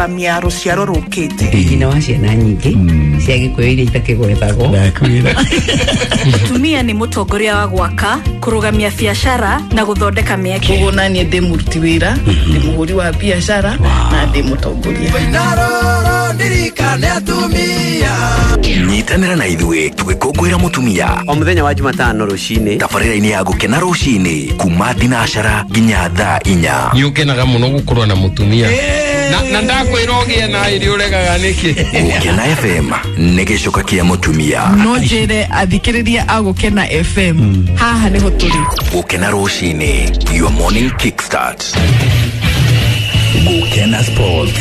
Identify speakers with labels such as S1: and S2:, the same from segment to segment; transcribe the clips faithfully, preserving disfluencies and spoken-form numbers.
S1: Kũrũgamia rũciaro rũkĩte.
S2: Nyina wa ciana nyingĩ cia Gĩkũyũ iria itakĩgwetagwo.
S3: Mũtumia nĩ mũtongoria wa gwaka, kũrũgamia biacara na gũthondeka mĩeke.
S1: Koguo naniĩ ndĩ mũruti wĩra, ndĩ mũhũri wa biacara na ndĩ mũtongoria.
S4: Nyitanĩra na ithuĩ tũgĩkũngũĩra mũtumia
S5: o mũthenya wa Jumatano rũcinĩ
S4: tabarĩra-inĩ ya Gũkena rũcinĩ kuma thinacara nginya thaa inya.
S6: Nĩ ũkenaga mũno gũkorwo na mũtumia na na ndakwĩra ũgĩe na ĩrĩ ũregaga nĩkĩ.
S4: Gũkena F M nĩ gĩcoka kĩa mũtumia.
S1: No njĩre athikĩrĩria a Gũkena F M haha nĩho tũrĩ.
S4: Gũkena rũcinĩ, your morning kickstart. Gũkena Sports.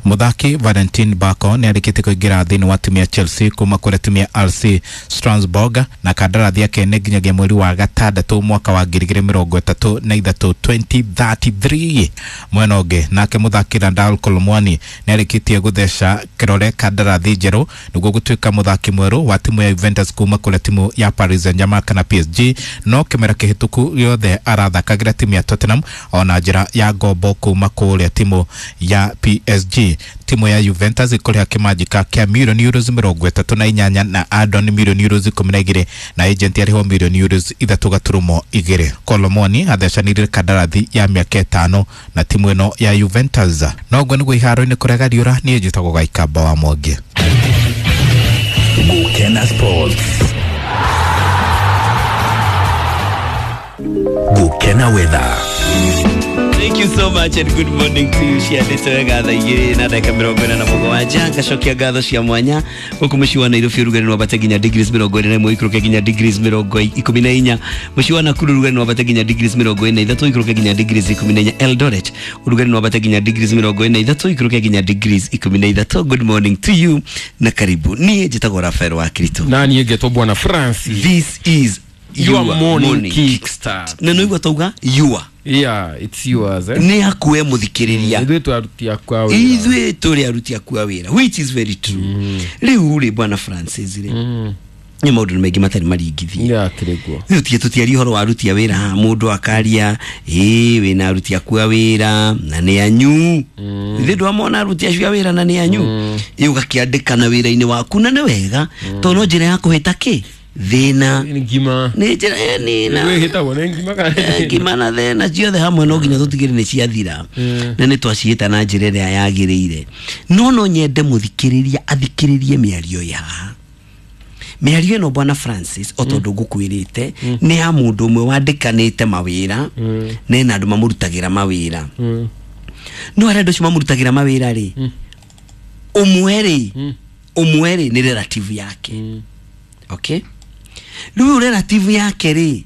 S7: Muthaki Valentin Bako nĩ arĩkĩtie kũingĩra thĩinĩ wa timu ya Chelsea kuma kũrĩa timu ya R C Strasbourg na kandarathi yake nĩ nginyagia mweri wa gatandatũ mwaka wa ngiri igĩrĩ mĩrongo ĩtatũ na ithatũ twenty thirty-three. Mwena ũngĩ nake muthaki Randal Colomwani nĩ arĩkĩtie gũtheca kĩrore kandarathi njerũ nĩguo gũtuĩka muthaki mwerũ wa timu ya Juventus kuma kũrĩa timu ya Paris Saint-Germain kana P S G, no kĩmera kĩhĩtũku gĩothe arathakagĩra timu ya Tottenham ona njĩra ya ngombo kuma kũrĩa timu ya P S G. Timu ya Juventus ikũrĩha kĩmanjĩka kĩa milioni euros mĩrongo ĩtatũ na inyanya na add-on milioni euros ikũmi na igĩrĩ na agent arĩhwo milioni euros ithatũ gaturumo igĩrĩ. Colomoni athecanire kandarathi ya mĩaka ĩtano na timu ĩno ya Juventus. No ũguo nĩguo iharo-inĩ kũrega riũra, niĩ njĩtagwo Gaikamba wa Mwangi.
S4: Gũkena Sports. Gũkena Weather.
S5: Thank you so much and good morning to you. Ciandĩte wega thaa igĩrĩ na ndagĩka mĩrongo ĩna na mũgwanja. Ngacokia ngatho cia mwanya gũkũ mũciĩ wa Nairobi ũrugarĩ nĩ wambate nginya degrees mĩrongo ĩrĩ na ĩmwe ikũrũke nginya degrees mĩrongo ikũmi na inya. Mũciĩ wa Nakuru ũrugarĩ nĩ wambate nginya degrees mĩrongo ĩna na ithatũ ikũrũke nginya degrees ikũmi na inya. Eldoret ũrugarĩ nĩ wambate nginya degrees mĩrongo ĩna na ithatũ ikũrũke nginya degrees ikũmi na ithatũ. Good morning to you na karibu. Niĩ njĩtagwo Rafael wa Kirito.
S6: Na niĩ ngetwo Bwana Francis.
S5: This is
S6: your morning, morning kickstart.
S5: Na nĩguo tauga your.
S6: Yeah, it's yours. Eh?
S5: Nĩ hakuwe mũthikĩrĩria.
S6: Ithuĩ tũaruti akwa wĩra.
S5: Ithuĩ tũrĩ aruti akwa wĩra, which is very true. Mm. Rĩu rĩ Bwana Francis rĩ. Mm. Nĩ maũndũ maingĩ matarĩ maringithie.
S6: Yeah, kĩrĩguo.
S5: Rĩu tie tũtiaria ũhoro wa aruti a wĩra haha, mũndũ akaria, ĩĩ wĩna aruti akwa wĩra na nĩ anyu. Mm. Ithuĩ ndwamona aruti acio a wĩra na nĩ anyu. Mm. Ĩ ũgakĩandĩkana wĩra-inĩ waku na nĩ wega, mm. tondũ no njĩra ya kũhĩta kĩ? Thĩna
S6: ngima
S5: nĩ njĩra nĩ na
S6: wĩhĩtagwo nĩ ngima kana
S5: ngima na thĩna ciothe hamwe no nginya tũtigĩre nĩ ciathira na nĩ twaciĩta na njĩra ĩrĩa yagĩrĩire. No no nyende mũthikĩrĩria athikĩrĩrie mĩario ya haha. Mĩario ĩno Bwana Francis o tondũ ngũkwĩrĩte nĩ ya mũndũ ũmwe wandĩkanĩte mawĩra na ena andũ mamũrutagĩra mawĩra. No arĩa andũ acio mamũrutagĩra mawĩra rĩ, ũmwe rĩ ũmwe rĩ nĩ relative yake. Okay? Rĩu relative yake rĩ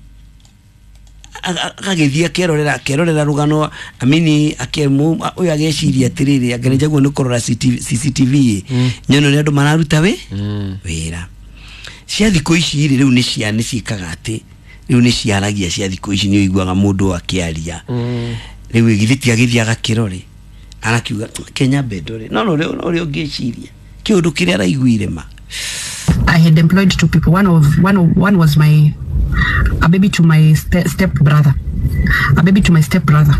S5: agagĩthiĩ akerorera akerorera rũgano amini akemu ũyũ ageciria atĩrĩrĩ angerejaguo nĩ kũrora C C T V nyone ũrĩa andũ mararuta wĩ wĩra. Cia thikũ ici rĩ rĩu nĩ cia nĩ ciĩkaga atĩ rĩu nĩ ciaragia cia thikũ ici nĩ ũiguaga mũndũ akĩaria. Rĩu githĩ ti agĩthiĩ agakĩrore arakiuga Kenya bendo rĩ no no ũrĩa ũngĩciria kĩũndũ kĩrĩa araiguire ma.
S8: I had employed two people. One of one of, one was my a baby to my ste step brother, a baby to my step brother.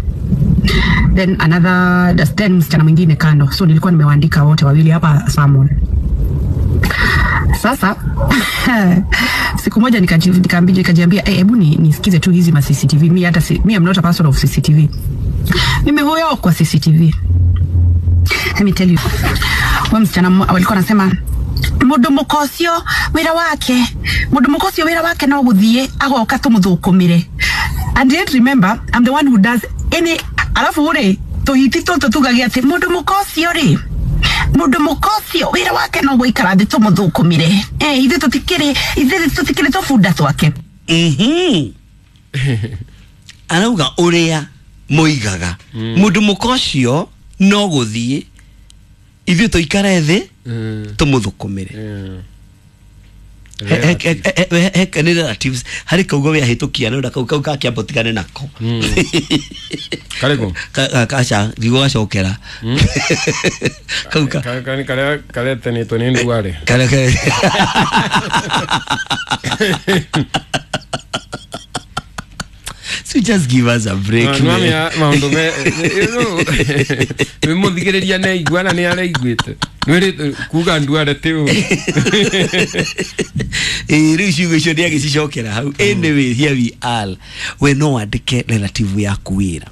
S8: Then another then msichana mwingine kando. So nilikuwa nimewaandika wote wawili hapa Salmon. Sasa siku moja nikajiambia nikajiambia eh, hebu ni nisikize tu hizi ma C C T V. Mi hata si, mi am not a person of C C T V. Mimi huyo kwa C C T V. Let me tell you. Wewe msichana walikuwa wanasema mundu mukocio wira wake mundu mukocio wira wake no guthie agoka tumuthukumire. And yet remember I'm the one who does any alafu uri tuhiti tutu tugagia ati mundu mukocio ri mundu mukocio wira wake no guikara thi tumuthukumire eh ithe tutikiri ithe tutikiri tubunda twake.
S5: Mhm arauga uria moigaga mundu mukocio no guthie ithuĩ tũikare thĩ tũmũthũkũmĩre. Nĩ relatives harĩ kaugo wĩahĩtũkia no kau kau gakĩamba ũtigane nako.
S6: Karĩkũ?
S5: Aca ndigũgacokera. Kau ka
S6: karĩa karetanĩtwo nĩ ndware.
S5: Karĩa So just give us a break.
S6: No, maundu me you know muthigiriria ne iguana ni araiguite nwiri kuga nduare ti u
S5: eh riu ciugo icio ni agicicokera hau. Anyway, here we are. We no wandike relative yaku wira.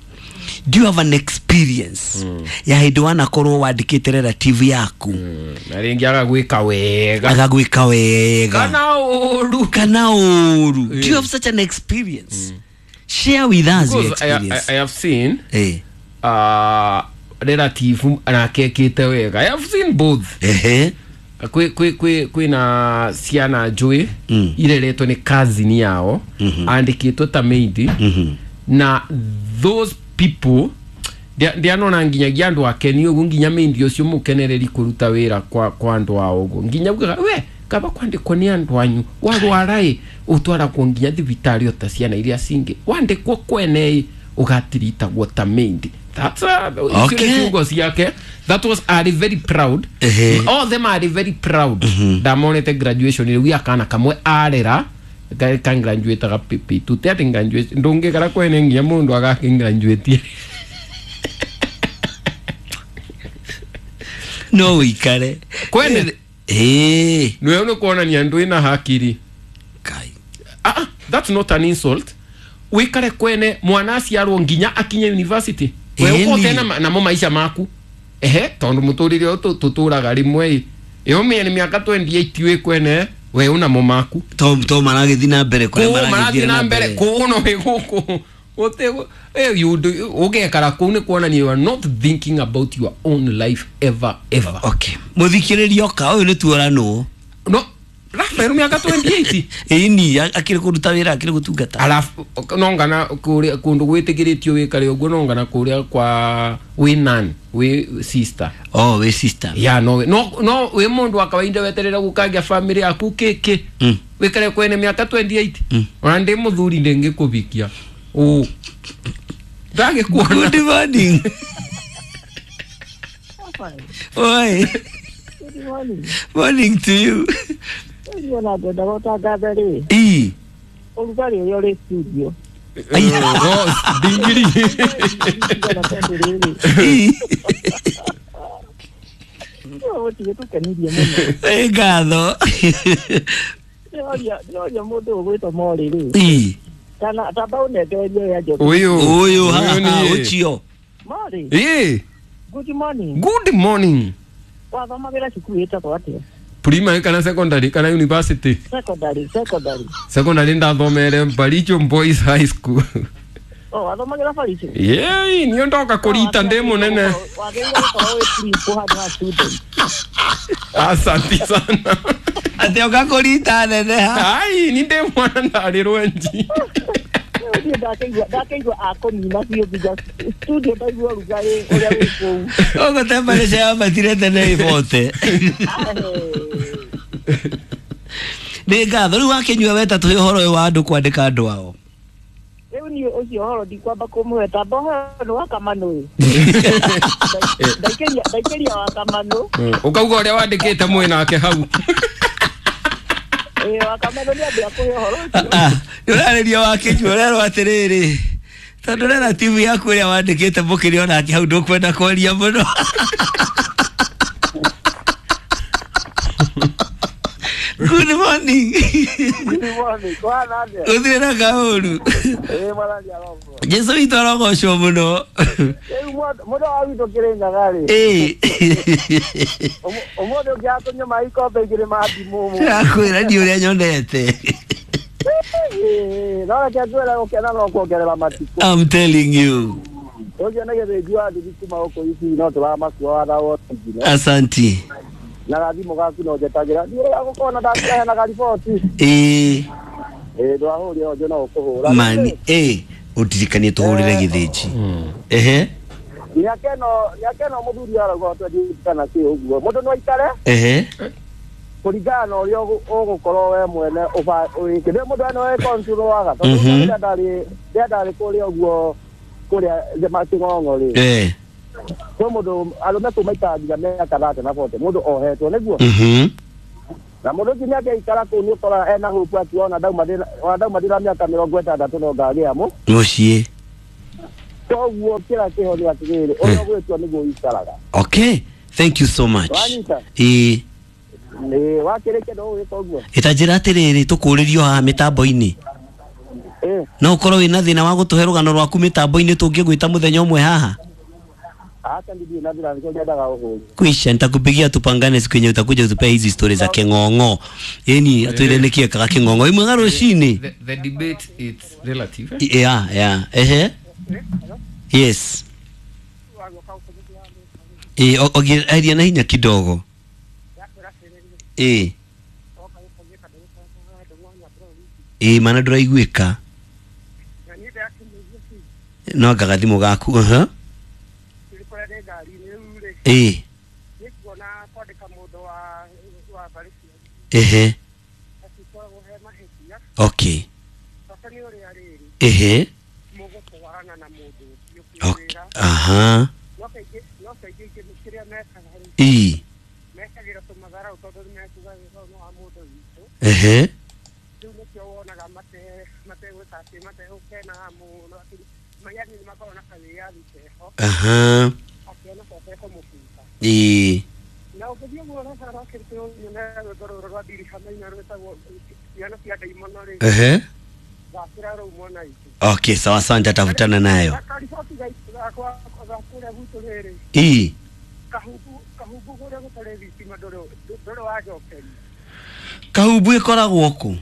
S5: Do you have an experience mm. ya hindi wanakorwo wandikite relative yaku
S6: mm. na ringi agagwika wega
S5: agagwika wega
S6: kana uru
S5: kana uru mm. Do you have such an experience? Mm. Share with us your experience.
S6: I, I, I have seen
S5: eh
S6: uh relative anakekite wega. I have seen both.
S5: Eh
S6: kwi kwi kwi kwina ciana njui
S5: mm.
S6: ireretwo ni cousin yao
S5: mm -hmm.
S6: andikitwo ta maid
S5: mm -hmm.
S6: na those people ndianona nginyagia andu akeni ugu nginya maid ucio mukenereri kuruta wira kwa kwa andu ao ugu nginya ugaga we kaba kwandikwo ni andu anyu warwara i utwaragwo nginya thibitari ota ciana iria cingi wandikwo kwene ugatiritagwo ta maid. That's uh,
S5: okay.
S6: Ciugo ciake. That was are very proud.
S5: Uh -huh.
S6: All them are very proud.
S5: Mm-hmm.
S6: Ndamonete graduation riu akana kamwe arera ka graduate ga pipi tute ati graduate ndungikara kwene nginya mundu agaki graduate
S5: no wikare
S6: kwene
S5: eh
S6: niwe no kuonania ndu ina hakiri
S5: kai.
S6: Ah, that's not an insult. Wikare kwene mwana aciarwo nginya akinye university we ukote na namo maisha maku ehe tondu muturire tuturaga rimwe iyo mie miaka twenty-eight we kwene we una mo maku
S5: to to maragithi na mbere kure
S6: maragithi na mbere kuno we guku gutego eh you do ugekara kuu ni kuonania you are not thinking about your own life ever ever.
S5: Okay, muthikiririo ka uyu ni tuora no
S6: no Rafael miaka twenty-eight
S5: ini akiri kuruta wira akiri gutungata
S6: alafu nongana kuria kundu gwitikiritio wikare uguo nongana kuria kwa wi nan wi sister.
S5: Oh, we sister
S6: ya no no no wi mundu wa kawaida weterera gukangia family yaku kiki
S5: mm.
S6: wikare kwene miaka twenty-eight
S5: mm.
S6: Ona ndi muthuri ndingikubikia u ndagikuona.
S5: Good morning. Oi.
S9: Good morning.
S5: Morning to you.
S9: Ona ngwenda gũtangatha rĩ
S5: ii
S9: ũrugarĩ ũrĩa ũrĩ studio
S6: ndingiri
S9: gũtirĩ tũkenirie mũno.
S5: Ĩ ngatho.
S9: Ndĩroria mũndũ ũgwĩtwo Mori rĩ
S5: ii
S9: kana tamba ũnengererie ũrĩa Njoki
S6: ũyũ
S5: ũyũ haha ũcio
S9: Mori.
S6: Ĩ
S9: good morning.
S6: Good morning.
S9: Wathomagĩra cukuru ĩtagwo atĩa?
S6: Primary kana secondary kana university?
S9: Secondary, secondary.
S6: Secondary ndathomere Baricho Boys High School.
S9: Oh, wathomagira Baricho?
S6: Yeah, niyo ndoka kurita ndi munene.
S9: Wagĩrĩirwo gũkorwo wĩ principal handũ ha student.
S6: Asante sana.
S5: Ate oka kurita nene ha.
S6: Ai, ni ndi mwana ndari rwenji.
S9: Ndakeigua ndakeigua akũnina biũ nginya studio ndaigua ũrugarĩ ũrĩa wĩ kũu.
S5: Ũguo temperature yambatire tene ibote. Nĩ ngatho rĩu wakinyua weta tũhe ũhoro ũyũ wa andũ kwandĩka andũ ao.
S9: Rĩu niĩ ũcio ũhoro ndikwamba kũmũhe tamba ũhoro nĩ wa Kamanũ. Ndaikĩria ndaikĩria wa Kamanũ.
S6: Ũkauga ũrĩa wandĩkĩte mwĩ nake hau.
S9: Ĩĩ wa Kamanũ nĩ ambia kũhe ũhoro ũcio.
S5: Ah, ũrarĩria wakinyua ũrerwo atĩrĩrĩ tondũ relative yaku ĩrĩa wandĩkĩte mũkĩrĩ onake hau ndũkwenda kwaria mũno. Good morning.
S9: Good morning. Kwana atĩa?
S5: Gũtirĩ na kaũru.
S9: Ĩĩ mwathani arogocwo.
S5: Jesu witũ arogocwo mũno.
S9: Rĩu mũndũ wa witũ Kĩrĩnyaga rĩ.
S5: Ĩĩ.
S9: Ũmũthĩ ũngĩaga kũnyua maĩ ikombe igĩrĩ ma ndimũ.
S5: Ndĩrakwĩra niĩ ũrĩa nyonete.
S9: Ĩĩ, no reke ngwĩre gũkena no kuongerera matukũ.
S5: I'm telling you.
S9: Ũcio nĩ gĩthĩnji wa nduthi kuma gũkũ Isii no tũramakua watha wothe.
S5: Asanti.
S9: Na gathimũ gaku no njetagĩra niĩ ũrĩa gũkona ndakĩheanaga riboti.
S5: Ĩĩ.
S9: Ĩĩ ndwahũrire onjo no ũkũhũra.
S5: Mani ĩĩ ũndirikanie tũhũrĩre gĩthĩnji. Ehe.
S9: Mĩaka ĩno mĩaka ĩno mũthuri arauga twenty kana kĩ ũguo mũndũ no aikare.
S5: Ehe.
S9: Kũringana na ũrĩa ũgũkorwo we mwene ũĩkĩte mũndũ eno e control waga tondũ rĩrĩa ndarĩ rĩrĩa ndarĩ kũrĩa ũguo kũrĩa Kĩng'ong'o rĩ.
S5: Eh.
S9: Kwĩ mũndũ arũme kũu maikaraga nginya mĩaka thate na bote mũndũ ohetwo nĩguo.
S5: Mhm.
S9: Na Na mũndũ ũcio nĩangĩikara kũu nĩ ũkoraga ena hope atĩ ona ndauma ndĩna ona ndauma ndĩna mĩaka mĩrongo ĩtandatũ no ngagĩa mũ
S5: Mũciĩ.
S9: Koguo kĩrĩa kĩho nĩ atĩrĩrĩ, ũrĩa ũgwĩtua nĩguo ũikaraga.
S5: Okay, thank you so much.
S9: Wanyita?
S5: Ĩĩ.
S9: Nĩ wakĩrĩkia no ũgwĩka ũguo.
S5: Ĩtanjĩra atĩrĩrĩ, tũkũrĩrio haha mĩtambo-inĩ.
S9: Ĩĩ.
S5: No ũkorwo wĩna thĩna wa gũtũhe rũgano rwaku mĩtambo-inĩ tũngĩgwĩta mũthenya ũmwe haha?
S9: Hata ndirĩ na thĩna, nĩkĩo nyendaga ũhũri.
S5: Kwisha, nitakupigia tupangane siku yenye utakuja utupee hizi stories za king'ong'o. Yaani atwire nĩkĩ ekaga king'ong'o. Imwe rũcinĩ.
S6: The, the debate, it's relative, eh?
S5: Yeah, yeah. Ehe. Yes. Eh, ogeria na hinya kidogo. Eh. Eh, mana ndũraiguĩka. No anga gathimũ gaku. Uh-huh. Eh. Ehe. Okay. Ehe. Okay. Aha. Ii. Ehe. Aha. Ii. Ehe. Okay, sawa sawa, nitatafutana nayo. Ii. Kahubu ĩkoragwo kũ?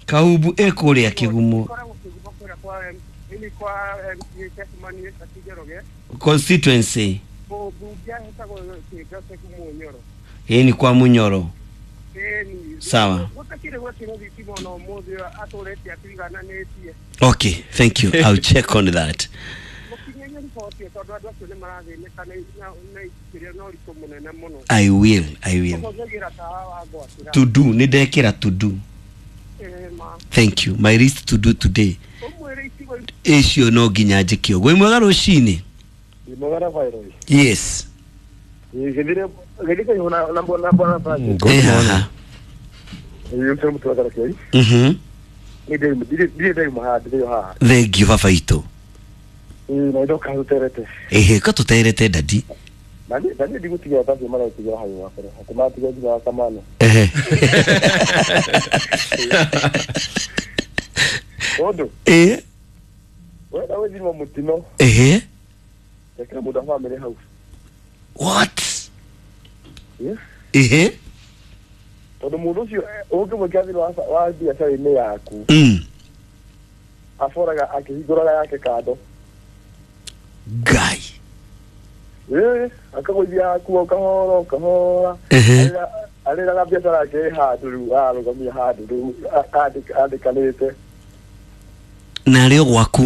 S5: Kahubu ĩ kũrĩa Kĩgumo. Constituency. Ĩ ni kwa Munyoro. Sawa. Okay, thank you. I'll check on that. I will, I will. To do, nĩndekĩra to do. Thank you. My list to do today. Icio no nginya njĩke ũguo. Wĩ mwega rũcinĩ? Yes. Eh, haha. Mhm. Thank you baba itũ. Ehe, ka tũterete dadi. Ehe. Eh. Ehe. What? Ehe.
S9: Tondũ mũndũ ũcio ũngĩmwĩkĩra thĩinĩ wa biacara-inĩ yaku,
S5: Mm.
S9: aboraga akĩhingũraga yake kando.
S5: Ngai.
S9: Ĩĩ, akagũithia yaku o kahora o kahora.
S5: Ehe.
S9: Arĩraga biacara yake ĩ handũ rĩu ararũgamia handũ rĩu andĩkanĩte.
S5: Na arĩ o gwaku.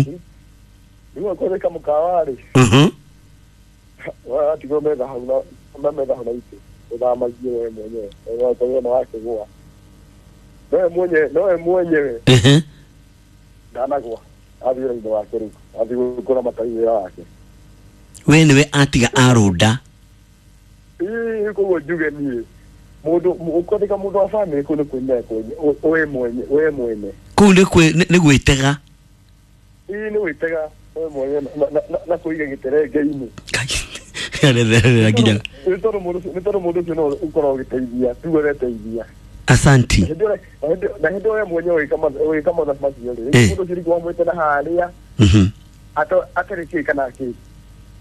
S9: Rĩu akorwo mũkawa rĩ,
S5: Mhm.
S9: watigwo metha hau na metha hau na itĩ ũthamagie we mwenyewe ũgakorwo na wakĩgũa nowe mwenyewe nowe mwenyewe.
S5: Ehe.
S9: Ndanagwa athiĩ wĩra-inĩ wake rĩu athiĩ kũramata wĩra wake.
S5: We nĩwe atiga arũnda.
S9: Ĩĩ, koguo njuge niĩ mũndũ ũkwandĩka mũndũ wa bamĩrĩ kũu nĩ kwĩmenya we mwenye we mwene.
S5: Kũu nĩ kwĩ nĩ gwĩtega.
S9: Ĩĩ, nĩ gwĩtega we mwenye na kũiga gĩterenge-inĩ.
S5: Aretherera nginya.
S9: Nĩ tondũ mũndũ nĩ tondũ mũndũ ũcio no ũkoragwo ũgĩteithia tuge ũreteithia.
S5: Asanti.
S9: Na hĩndĩ ĩyo we mwenyewe ũgĩka mathabu macio rĩ, mũndũ ũcio rĩngĩ wamwĩte na harĩa
S5: Mhm.
S9: atarĩ kĩ kana kĩ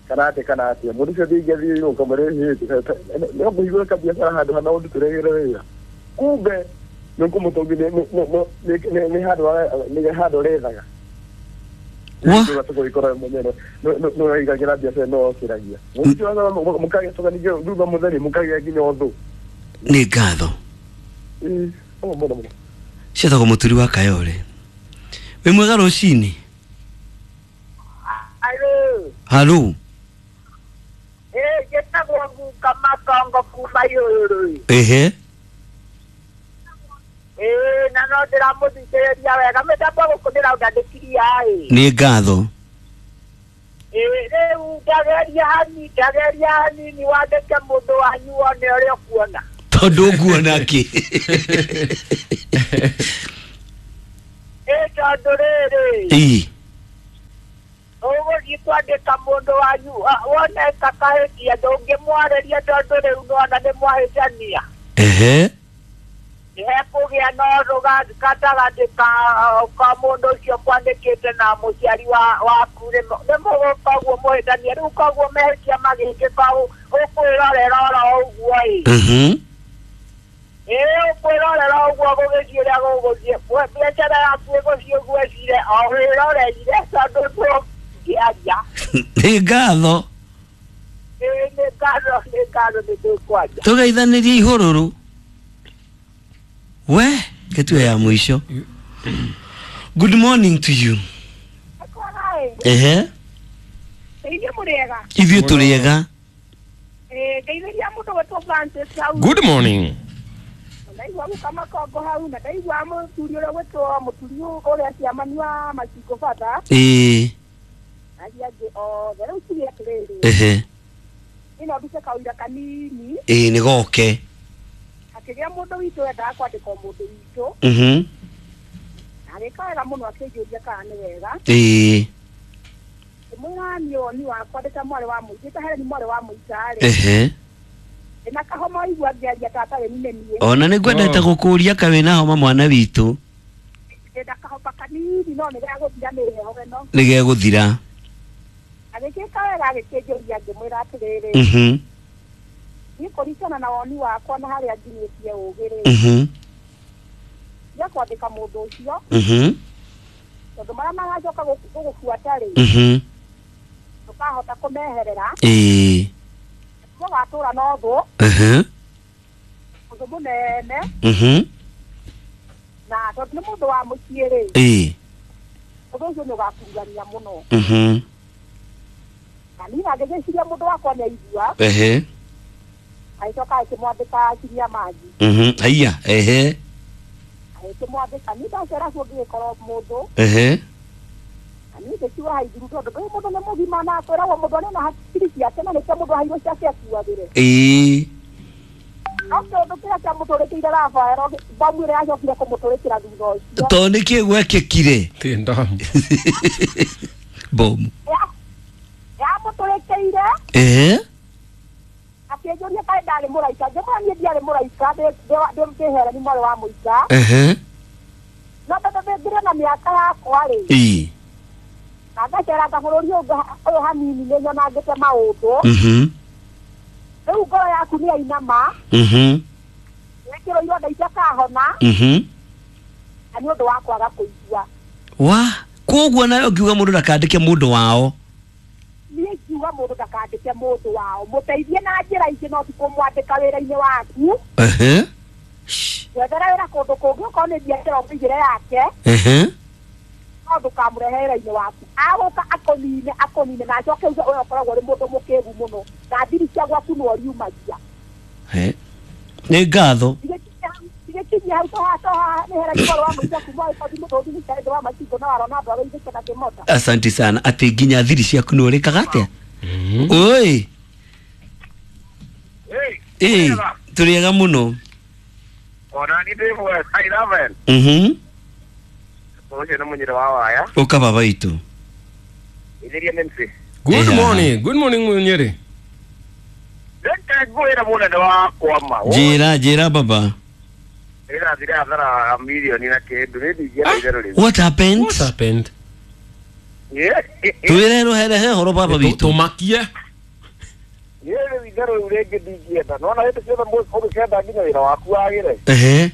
S9: kana atĩ kana atĩa mũndũ ũcio ndingĩathiĩ ũkamwĩra hĩ no kũhingũra kabiacara handũ hana ũndutĩre wĩra kumbe nĩ ũkũmũtongia nĩ handũ nĩ handũ ũrethaga.
S5: Wa?
S9: Nĩũraigagĩra biacara no okĩragia mũndũ ũcio mũkagĩa tũganingĩ thutha mũtheri mũkagĩa nginya ũthũ.
S5: Nĩ ngatho.
S9: Ĩĩ, mũno mũno.
S5: Cietagwo mũturi wa Kayore. Wĩ mwega rũcinĩ?
S10: Alo.
S5: Halo.
S10: Eh, njĩtagwo Guka Makongo kuma Ihũrũrũ.
S5: Ehe.
S10: Ĩĩ, na no ndĩramũthikĩrĩria wega mĩtambo gũkũ ndĩrauga ndĩkiria ĩ.
S5: Nĩ ngatho.
S10: Rĩu ndageria hanini ndageria hanini wandĩke mũndũ wanyu wone ũrĩa ũkuona.
S5: Tondũ ũkuona kĩ?
S10: Ĩ tondũ rĩrĩ
S5: Ĩ.
S10: Ũgũthiĩ kwandĩka mũndũ wanyu wone ta kahĩtia ndũngĩmwarĩria tondũ rĩu nĩwona nĩ mwahĩtania.
S5: Ehe.
S10: Nĩhekũgĩa na ũthũ gatagatĩ ka ka mũndũ ũcio kwandĩkĩte na mũciari waku nĩ mũgũka ũguo mũhĩtanie rĩu koguo mehĩtia magĩkĩka ũkwĩrorera oro ũguo ĩ.
S5: Mhm.
S10: Ĩ ũkwĩrorera ũguo gũgĩthiĩ ũrĩa gũgũthiĩ biacara yaku ĩgũthiĩ ũguo ĩcire o wĩroreire tondũ ndũngĩaria.
S5: Nĩ ngatho.
S10: Ĩ nĩ ngatho nĩ ngatho nĩ tũkwaria.
S5: Tũgeithanĩrie ihũrũrũ. We, ketue ya mwisho. Good morning to you. Ehe.
S10: Ithuĩ mũrĩega.
S5: Ithuĩ tũrĩega.
S10: Eh, ngeithĩria mũndũ gwĩtwo Francis hau.
S6: Good morning.
S10: Ndaigua gũka Makongo hau na ndaigua mũthuri ũrĩa gwĩtwo mũturi ũrĩa ciamani wa Macingo bata.
S5: Ĩĩ.
S10: Aria angĩ othe rĩu tuge atĩrĩrĩ.
S5: Ehe.
S10: Ĩno ndute kawĩra kanini.
S5: Ĩĩ nĩ goke.
S10: Akĩgĩa mũndũ witũ wendaga kwandĩka mũndũ witũ.
S5: Mhm.
S10: Agĩka wega mũno akĩnjũria kana nĩ wega.
S5: Ĩĩ.
S10: Ngĩmwĩra niĩ woni wakwa ndĩ ta mwarĩ wa mũingĩ ta Helen mwarĩ wa mũika-rĩ.
S5: Ehe.
S10: Ndĩna kahoma waigua ngĩaria ta atarĩ nĩ niĩ.
S5: Ona nĩ ngwendete gũkũria ka wĩna homa mwana witũ.
S10: Ndĩna kahoma kanini no nĩ gegũthira nĩ heho ĩno.
S5: Nĩ gegũthira.
S10: Agĩkĩka wega agĩkĩnjũria ngĩmwĩra atĩrĩrĩ.
S5: Mhm.
S10: Niĩ kũringana na woni wakwa na harĩa nginyĩtie ũgĩ-rĩ.
S5: Mhm.
S10: Tiga kwandĩka mũndũ ũcio.
S5: Mhm.
S10: Tondũ marĩa magacoka gũgũbuata-rĩ.
S5: Mhm.
S10: Ndũkahota kũmeherera.
S5: Ĩĩ.
S10: Mũgatũra na ũthũ.
S5: Ehe.
S10: Ũthũ mũnene.
S5: Mhm.
S10: Na tondũ nĩ mũndũ wa mũciĩ-rĩ.
S5: Ĩĩ.
S10: Ũndũ ũcio nĩ ũgakururania mũno.
S5: Mhm.
S10: Na niĩ ngĩgĩciria mũndũ wakwa nĩ aigua.
S5: Ehe.
S10: Agĩcoka akĩmwandĩka akinyia maji.
S5: Mhm. Haiya, ehe.
S10: Agĩkĩmwandĩka niĩ ndacera kuo ngĩgĩkorwo mũndũ.
S5: Ehe.
S10: Na niĩ ngĩkiuga haithuru tondũ ndũĩ mũndũ nĩ mũgima na kwĩragwo mũndũ arĩ na hakiri ciake na nĩkĩo mũndũ aheirwo ciake akuagĩre.
S5: Ĩĩ.
S10: No kĩũndũ kĩrĩa kĩamũtũrĩkĩire Rafaelo bomu ĩrĩa yacokire kũmũtũrĩkĩra thutha ũcio.
S5: Tondũ nĩkĩĩ gwekĩkire?
S6: Ti ndamu.
S5: Bomu.
S10: Yamũtũrĩkĩire.
S5: Ehe.
S10: Akĩnjũria kaĩ ndarĩ mũraika ngĩmwĩra niĩ ndiarĩ mũraika ndĩ Helen mwarĩ wa mũika.
S5: Ehe.
S10: No tondũ ndĩngĩrĩ na mĩaka yakwa-rĩ.
S5: Ĩĩ.
S10: Na ngaceranga bũrũri ũyũ hanini nĩ nyonangĩte maũndũ.
S5: Mhm.
S10: Rĩu ngoro yaku nĩ yainama.
S5: Mhm.
S10: Wĩkĩrwo ironda itakahona.
S5: Mhm.
S10: Na nĩ ũndũ wa kwaga kũigua.
S5: Wa, koguo nawe ũngiuga mũndũ ndakandĩke mũndũ wao.
S10: Niĩ ngiuga mũndũ ndakandĩke mũndũ wao mũteithie na njĩra ingĩ no ti kũmwandĩka wĩra-inĩ waku.
S5: Ehe.
S10: Wethera wĩra kũndũ kũngĩ okorwo nĩ biacara ũmũigĩre yake.
S5: Ehe.
S10: No ndũkamũrehe wĩra-inĩ waku agũka akũnine akũnine na acoke uge ũyũ ũkoragwo ũrĩ mũndũ mũkĩgu mũno na thiri cia gwaku nĩ ũriumagia.
S5: He. Nĩ ngatho.
S10: Tigĩkinyia hau toha toha nĩ Helen mwarĩ wa mũika kuma ĩkothi mũtũthi nĩ kĩndũ wa Macingo na warona andũ arĩa ithĩke na kĩmota.
S5: Asante sana atĩ nginya thiri ciaku nĩ ũrĩkaga atĩa? Oi. Ĩĩ, tũrĩega mũno.
S9: Ona niĩ ndĩ mwega eleven.
S5: Mhm.
S9: Ũcio nĩ mũnyĩrĩ wa waya.
S5: Ũka baba witũ.
S9: Ithĩria M C.
S6: Good morning. Good morning Munyere.
S9: Reke ngwĩre mũnene wakwa ma.
S5: Njĩra njĩra baba.
S9: Ĩrathire hathara milioni na kĩndũ nĩ ndingĩenda itherũ rĩu.
S5: What happened?
S6: What happened?
S5: Twĩre rũhere horo baba witũ.
S6: Tũmakie.
S9: Niĩ rĩu itherũ rĩu rĩngĩ ndingĩenda. Nĩwona hĩndĩ ciothe ũgĩkenda nginya wĩra waku wagĩre.
S5: Ehe.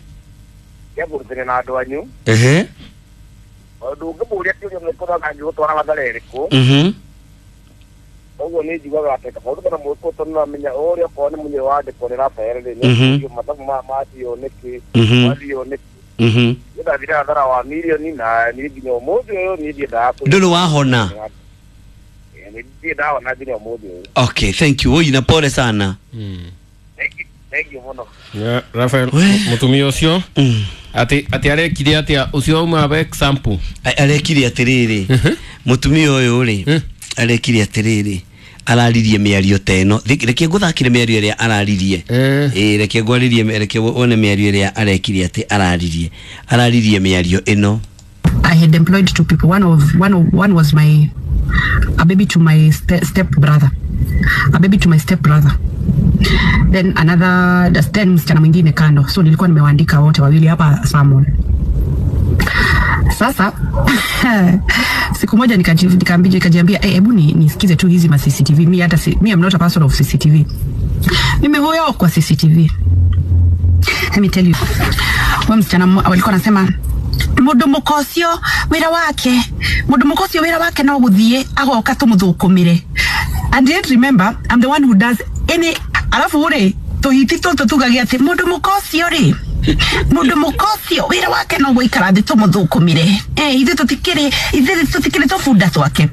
S9: Kĩamũrutĩre na andũ anyu.
S5: Ehe.
S9: Tondũ ũngĩmũria kĩũria nĩkũroga angĩgũtwara hathara ĩrĩkũ.
S5: Mhm.
S9: Ũguo nĩ njiguaga atĩ kaba ũndũ kana mũgĩkũyũ tondũ nĩũramenya ũrĩa okorwo nĩ mũnyĩrĩ wandĩkwo nĩ Rafael rĩ nĩ mathabu maya mathio nĩkĩ mathio nĩkĩ.
S5: Mhm.
S9: Niĩ ndathire hathara wa milioni na niĩ nginya ũmũthĩ ũyũ niĩ ndiendaga kũ
S5: Ndũrĩ wahona?
S9: Niĩ ndiendahona nginya ũmũthĩ ũyũ.
S5: Okay, thank you. Oi na pole sana.
S9: Thank you mũno.
S6: Yeah, Rafael mũtumia ũcio ati ati arekire atia ũcio auma example
S5: arekire atiriri mutumia ũyũ rĩ Arekire atĩrĩrĩ, araririe mĩario ta ĩno. Reke ngũthakire mĩario ĩrĩa araririe. Ĩĩ, reke ngwarĩrie, reke wone mĩario ĩrĩa arekire atĩ araririe. Araririe mĩario ĩno.
S8: I had employed two people. One of one of, one was my a baby to my ste step brother, a baby to my step brother. Then another, then msichana mwingine kando. So nilikuwa nimewaandika wote wawili hapa Salmon. Sasa siku moja nikajiambia nikajiambia hebu ni nisikize tu hizi ma C C T V. Mi hata si, mi am not a person of C C T V. Mimi huyo kwa C C T V. Let me tell you. Wa msichana walikuwa wanasema mundu mukocio wira wake, mundu mukocio wira wake no guthie agoka tumuthukumire. And yet remember, I'm the one who does any alafu uri tuhiti tutu tugagia ati mundu mukocio ri mundu mukocio wira wake no guikara thi tumuthukumire, eh ithe tutikiri ithe tutikiri tubunda twake.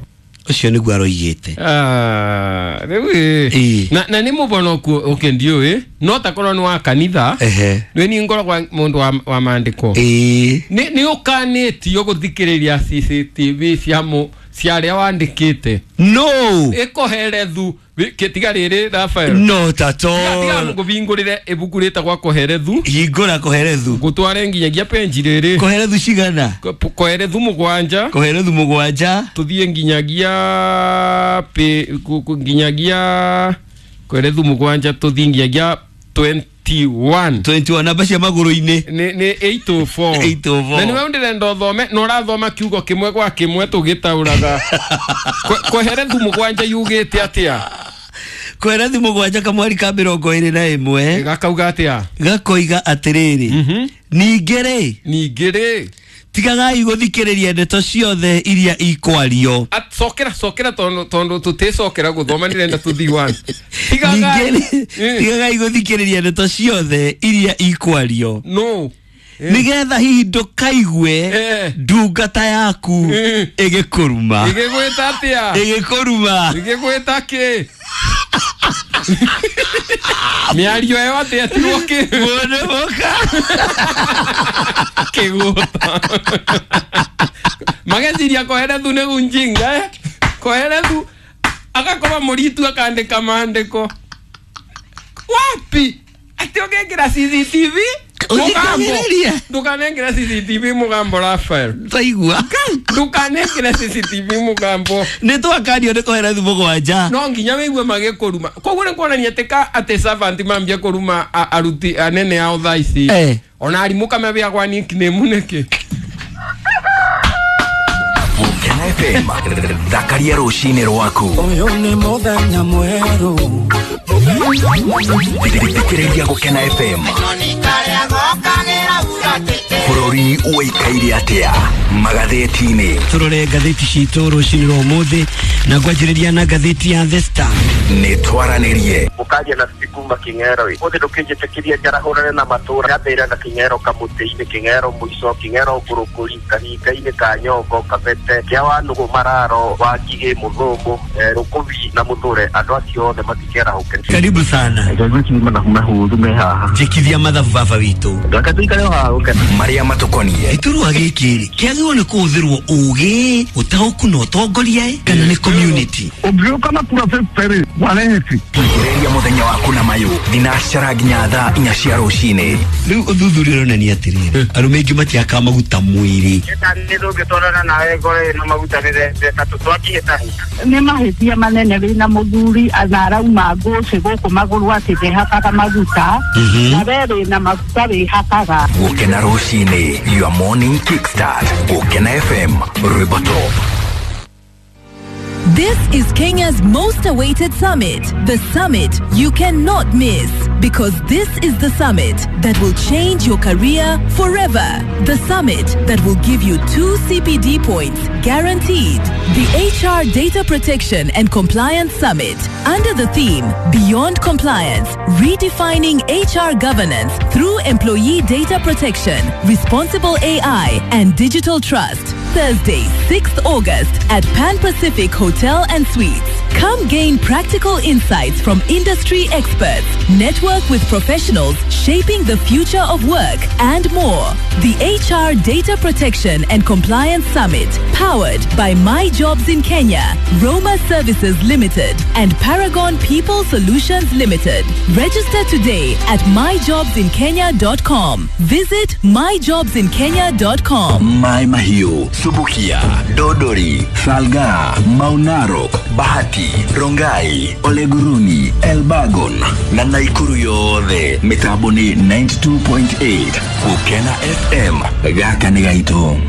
S5: Ucio niguo aroigite.
S6: Ah, riu na na ni mubono ku okay ndio eh no takorwo ni wa kanitha ni ni ngoro kwa mundu wa, wa maandiko
S5: eh
S6: ni ni ukanitio guthikiriria C C T V cia mu cia aria wandikite
S5: no
S6: ikoherethu tiga riri Rafael
S5: no tato
S6: tiga ngubingurire ibuku ritagwa koherethu
S5: hingura koherethu
S6: ngutware nginyagia penji riri
S5: koherethu cigana
S6: koherethu mugwanja
S5: koherethu mugwanja
S6: tuthie nginyagia pe nginyagia koherethu mugwanja tuthie nginyagia twenty-one
S5: twenty-one namba cia maguru-ini
S6: ni ni eight oh four
S5: eight oh four na
S6: niwe ndirenda uthome na urathoma kiugo kimwe gwa kimwe tugitauraga koherethu mugwanja yugite atia
S5: koherethu mugwanja kamwari ka mirongo iri na imwe
S6: gakauga atia
S5: gakoiga atiriri ningĩ rĩ
S6: ningĩ rĩ
S5: tigagai guthikiriria ndeto ciothe iria ikwario.
S6: Cokera cokera tondu tondu tuticokera guthoma ndirenda tuthi one tigagai
S5: tigagai guthikiriria ndeto ciothe iria ikwario
S6: no
S5: nigetha hihi ndukaigue ndungata yaku igikuruma
S6: igigwita atia
S5: igikuruma
S6: igigwita ki miario ĩyo atĩ etirwo kĩ
S5: mũndũ mũka
S6: kĩgũta mageciria koherethu nĩ gunjinga eh koherethu agakorwo mũritu akandĩka maandĩko wapi atĩ ũngĩkĩra C C T V mugambo ndukanengera C C T V mugambo Rafael
S5: taigua
S6: ndukanengera C C T V mugambo
S5: ni twakanio ni koherethu mugwanja
S6: no nginya wigue magikuruma koguo ni kuonania ati ka ati servant mambia kuruma aruti anene ao thaa ici
S5: eh.
S6: Ona arimũ kamebeagwa nickname niki
S4: Gukena F M thakaria rucini rwaku
S11: uyu ni muthenya mweru
S4: thikiriria Gukena F M bururi uikaire atia magatheti-ini
S5: turore ngatheti citu rucini rwa umuthi na ngwanjiriria na ngatheti ya The Star
S4: ni twaranirie
S9: mukaria na kuma king'ero uthi ndukinjitikiria njarahurane na matura gathira na king'ero kamuti-ini king'ero muico king'ero ngurukuri kahinga-ini ka nyongo kabete kia wa nugu mararo wa ngigĩ muthumu rukubi na muthure andu acio othe matikerahuke.
S5: Karibu sana njikithia mathabu baba witu
S4: maria matukonie
S5: iturwa giki kiagirwo ni kuhuthirwo ugi utauku na utongoria kana ni community
S9: ungiuka na kura fifty wareheti
S4: ria muthenya waku na mayu thinacara nginya thaa inya cia rucini.
S5: Riu uthuthuria uronania atiriri arume aingi matiakaga maguta mwiri
S9: ndũngĩtwarana nawe ngoro ĩna maguta rĩrendeka tũtwakĩhĩtahĩta
S10: nĩ mahĩtia manene wĩna mũthuri na arauma ngũcĩ gũkũ magũrũ atĩ ndehakaga maguta na we wĩna maguta wĩhakaga.
S4: Gukena rucini, your morning kickstart. Gukena F M, rwimbo top.
S12: This is Kenya's most awaited summit, the summit you cannot miss, because this is the summit that will change your career forever. The summit that will give you two C P D points guaranteed. The H R Data Protection and Compliance Summit, under the theme Beyond Compliance, Redefining H R Governance Through Employee Data Protection, Responsible A I and Digital Trust. Thursday, sixth August at Pan Pacific Hotel and Suites. Come gain practical insights from industry experts, network with professionals shaping the future of work, and more. The H R Data Protection and Compliance Summit, powered by My Jobs in Kenya, Roma Services Limited, and Paragon People Solutions Limited. Register today at my jobs in kenya dot com. Visit my jobs in kenya dot com.
S4: Mai Mahiu, Subukia, Dodori, Salga, Maunarok, Bahati, Rongai, Oleguruni, Elbagon na Naikuru yothe mitambo ni ninety-two point eight Gukena F M. Gaka ni gaitu.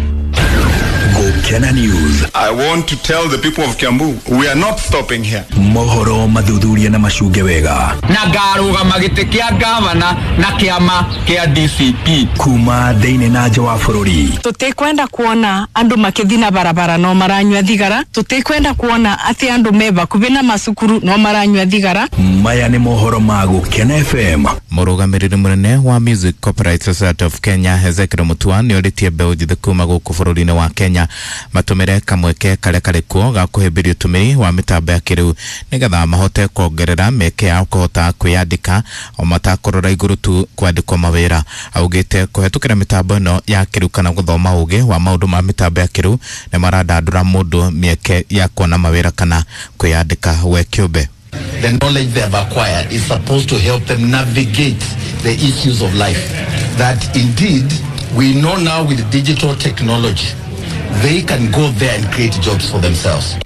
S4: Gukena News.
S13: I want to tell the people of Kiambu, we are not stopping here.
S4: Mohoro mathuthuria na macunge wega.
S14: Na ngarũgama gĩtĩ kĩa gavana na kĩama kĩa D C P.
S4: Kuma thĩinĩ na nja wa bũrũri.
S15: Tũtikwenda kuona andũ makĩthiĩ na barabara no maranyua thigara. Tũtikwenda kuona atĩ andũ me bakuhĩ na macukuru no maranyua thigara.
S4: Maya nĩ mohoro ma Gukena F M.
S7: Mũrũgamĩrĩri mũnene wa Music Copyright Society of Kenya Ezekiel Mutua nĩorĩtie mbeũ njĩthĩ kuma gũkũ bũrũri-inĩ wa Kenya matũmĩre kamweke karĩa karĩ kuo ga kũhĩmbĩria ũtũmĩri wa mĩtambo ya kĩrĩu nĩgetha mahote kuongerera mĩeke yao kũhota kwĩyandĩka o matakũrora igũrũ tu kwandĩkwo mawĩra. Augĩte kũhetũkĩra mĩtambo ĩno ya kĩrĩu kana gũthoma ũgĩ wa maũndũ ma mĩtambo ya kĩrĩu nĩ marandandũra mũndũ mĩeke ya kuona mawĩra kana kwĩyandĩka we kĩũmbe.
S16: The knowledge they have acquired is supposed to help them navigate the issues of life. That indeed, we know now with digital technology, they can go there and create jobs for themselves.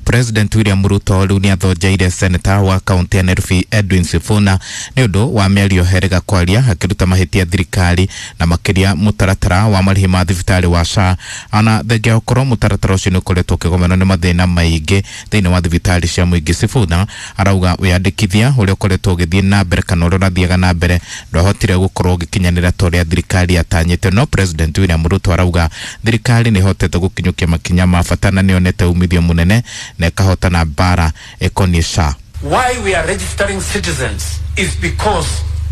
S7: President William Ruto rĩu nĩathonjeire seneta wa kaunti ya Nairobi Edwin Sifuna nĩ ũndũ wa mĩario herega kwaria akĩruta mahĩtia thirikari na makĩria mũtaratara wa marĩhi ma thibitarĩ wa S H A ona thengia gũkorwo mũtaratara ũcio nĩ ũkoretwo ũkĩgomerwo nĩ mathĩna maingĩ thĩinĩ wa thibitarĩ cia mũingĩ. Sifuna arauga wĩyandĩkithia ũrĩa ũkoretwo ũgĩthiĩ na mbere kana ũrĩa ũrathiaga na mbere ndwahotire gũkorwo ũgĩkinyanĩra ta ũrĩa thirikari yatanyĩte, no President William Ruto arauga thirikari nĩ ĩhotete gũkinyũkia makinya ma bata na nĩyonete umithio mũnene na ĩkahota na mbara ĩkoniĩ S H A.
S17: Why we are registering citizens is because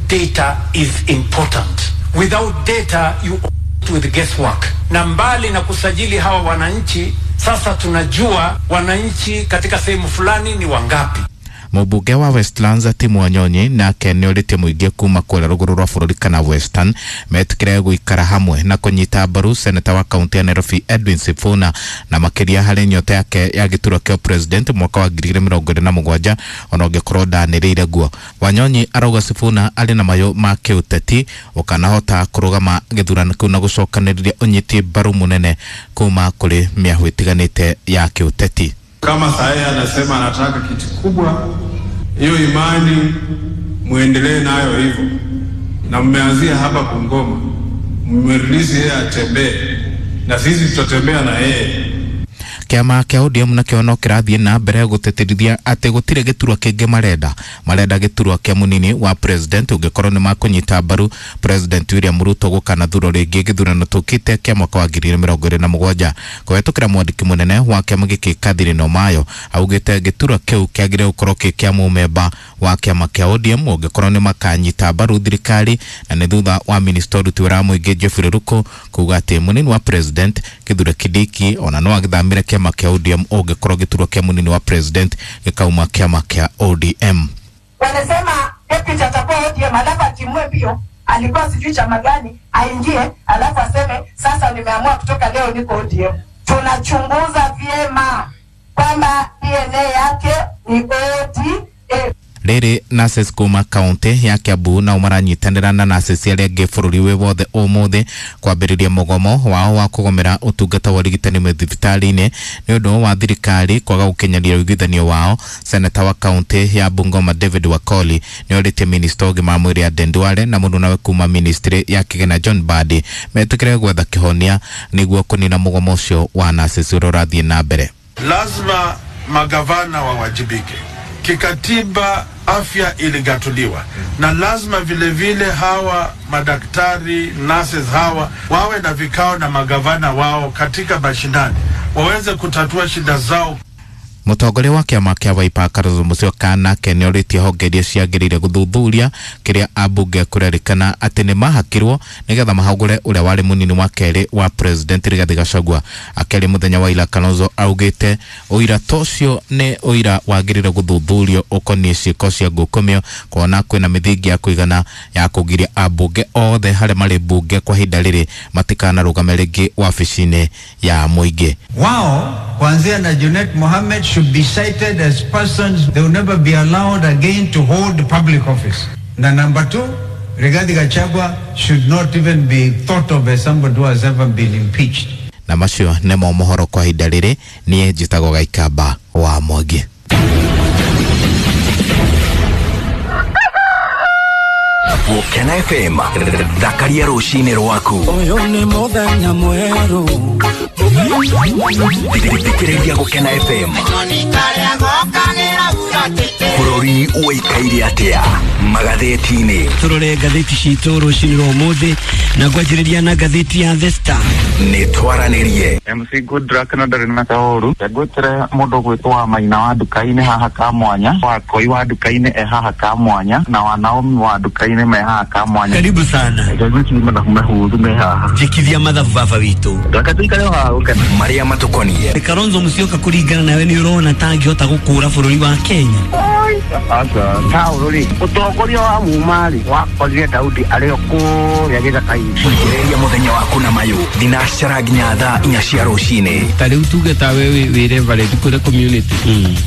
S17: data is important. Without data you operate with guesswork. Na mbali na kusajili hawa wananchi, sasa tunajua wananchi katika sehemu fulani ni wangapi.
S7: Mũmbunge wa Westlands Tim Wanyonyi nake nĩorĩtie mũingĩ kuma kũrĩa rũgũrũ rwa bũrũri kana Western metĩkĩre gũikara hamwe na kũnyita mbaru seneta wa kaunti ya Nairobi Edwin Sifuna na makĩria harĩ nyota yake ya gĩturwa kĩa president mwaka wa ngiri igĩrĩ mĩrongo ĩrĩ na mũgwanja ona ũngĩkorwo ndanĩrĩire guo. Wanyonyi arauga Sifuna arĩ na mayũ ma kĩũteti ũkanahota kũrũgama gĩthurano kĩu na gũcokanĩrĩria ũnyiti mbaru mũnene kuma kũrĩ mĩahũ ĩtiganĩte ya kĩũteti.
S18: Kama saa anasema anataka kiti kubwa, hiyo imani muendelee nayo hivyo. Na mmeanzia hapa Bungoma, mmerelease yeye atembee, na sisi tutatembea na yeye.
S7: Kĩama kĩa O D M nakĩo no kĩrathiĩ na mbere gũtĩtĩrithia atĩ gũtirĩ gĩturwa kĩngĩ marenda marenda gĩturwa kĩa mũnini wa president ũngĩkorwo nĩ makũnyita mbaru President William Ruto gũkanathurwo rĩngĩ gĩthurano tũkĩte kĩa mwaka wa ngiri igĩrĩ mĩrongo ĩrĩ na mũgwanja. Kũhetũkĩra mwandĩki mũnene wa kĩama gĩkĩ Catherine Omayo augĩte gĩturwa kĩu kĩagĩrĩire gũkorwo kĩ kĩa mũmemba wa kĩama kĩa O D M ũngĩkorwo nĩ makanyita mbaru thirikari, na nĩ thutha wa minista ũruti wĩra wa mũingĩ Geoffrey Ruku kuga atĩ mũnini wa president Kithure Kindiki ona no agĩthamĩre kĩama kĩa O D M ũngĩkorwo gĩturwa kĩa mũnini wa president gĩkauma kĩama kĩa O D M.
S19: Wanasema deputy atakuwa O D M alafu atimue mbio, alikuwa sijui chama gani, aingie alafu aseme sasa nimeamua kutoka leo niko O D M. Tunachunguza vyema kwamba D N A yake ni O D M.
S7: Rĩrĩ nurses kuma kaunti ya Kiambu nao maranyitanĩra na nurses arĩa angĩ bũrũri wĩ wothe ũmũthĩ kwambĩrĩria mũgomo wao wa kũgomera ũtungata wa ũrigitani mathibitarĩ-inĩ nĩ ũndũ wa thirikari kwaga gũkinyanĩria ũiguithanio wao. Seneta wa kaunti ya Bungoma David Wakoli nĩ orĩtie minista ũgima wa mwĩrĩ Aden Duale na mũrunawe kuma ministry ya kĩgĩna John Mbadi metĩkĩre gwetha kĩhonia nĩguo kũnina mũgomo ũcio wa nurses ũrĩa ũrathiĩ na mbere.
S18: Lazima magavana wawajibike. Kikatiba afya iligatuliwa, na lazima vile vile hawa madaktari nurses hawa wawe na vikao na magavana wao katika mashinani waweze kutatua shida zao.
S7: Mũtongoria wa kĩama kĩa Wiper Kalonzo Musyoka nake nĩorĩtie honge iria ciagĩrĩire gũthuthuria kĩrĩa ambunge kũrerĩkana atĩ nĩ mahakirwo nĩgetha mahagũre ũrĩa warĩ mũnini wa kerĩ wa president Rigathi Gachagua. Akĩaria mũthenya wa ira, Kalonzo augĩte ũira ta ũcio nĩ ũira wagĩrĩire gũthuthurio ũkoniĩ ciĩko cia ngukumio, kuona kwĩna mĩthingi ya kũigana ya kũgiria ambunge othe harĩa marĩ mbunge kwa ihinda rĩrĩ matikanarũgame rĩngĩ wabici-inĩ ya mũingĩ.
S20: Wao kuanzia na Junet Mohammed should be cited as persons they will never be allowed again to hold public office. Na number two, Rigathi Gachagua should not even be thought of as somebody who has ever been impeached.
S7: Na macio nĩmo mohoro kwa ihinda rĩrĩ. Niĩ njĩtagwo Gaikamba wa Mwangi.
S4: Gũkena F M, thakaria rũcinĩ rwaku.
S11: Ũyũ nĩ mũthenya mwerũ.
S4: Thikĩrĩria Gũkena F M. Bũrũri ũikaire atĩa magathĩti-inĩ?
S5: Tũrore ngathĩti citũ rũcinĩ rwa ũmũthĩ na ngwanjĩrĩria na ngathĩti ya The Star.
S4: Nĩ twaranĩrie.
S21: M C Goodluck na ndarĩ na kaũru. Ngwĩtĩre mũndũ gwĩtwo wa Maina wa nduka-inĩ haha ka mwanya, wa Koi wa nduka-inĩ e haha ka mwanya, na wa Naomi wa nduka-inĩ me haha ka mwanya.
S5: Karibu sana.
S21: Ngwĩtĩre mathabu mahũthũ me haha.
S5: Njĩkithia mathabu baba witũ.
S21: Reke tũikare haha Gũkena.
S4: Marĩa matũkoniĩ.
S5: Kalonzo Musyoka kũringana nawe nĩ ũrona ta angĩhota gũkũra bũrũri wa Kenya?
S21: Aca. Saũlũ rĩ, ũtongoria wa muma rĩ, wakorire Daudi arĩ o kũrĩa gĩthaka-inĩ.
S4: Thikĩrĩria mũthenya waku na mayũ thinacara nginya thaa inya cia rũcinĩ.
S6: Ta rĩu tuge ta we wĩ reverend kũrĩ community,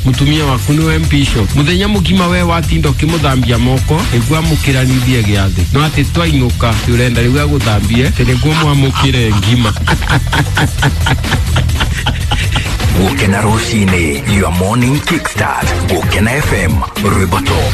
S6: mũtumia waku nĩwe bishop, mũthenya mũgima we watinda ũkĩmũthambia moko nĩguo amũkĩranithie gĩathĩ, no atĩ twainũka atĩ ũrenda rĩu agũthambie atĩ nĩguo mwamũkĩre ngima.
S4: Gũkena rũcinĩ, your morning kickstart. Gũkena F M, rwĩmbo top.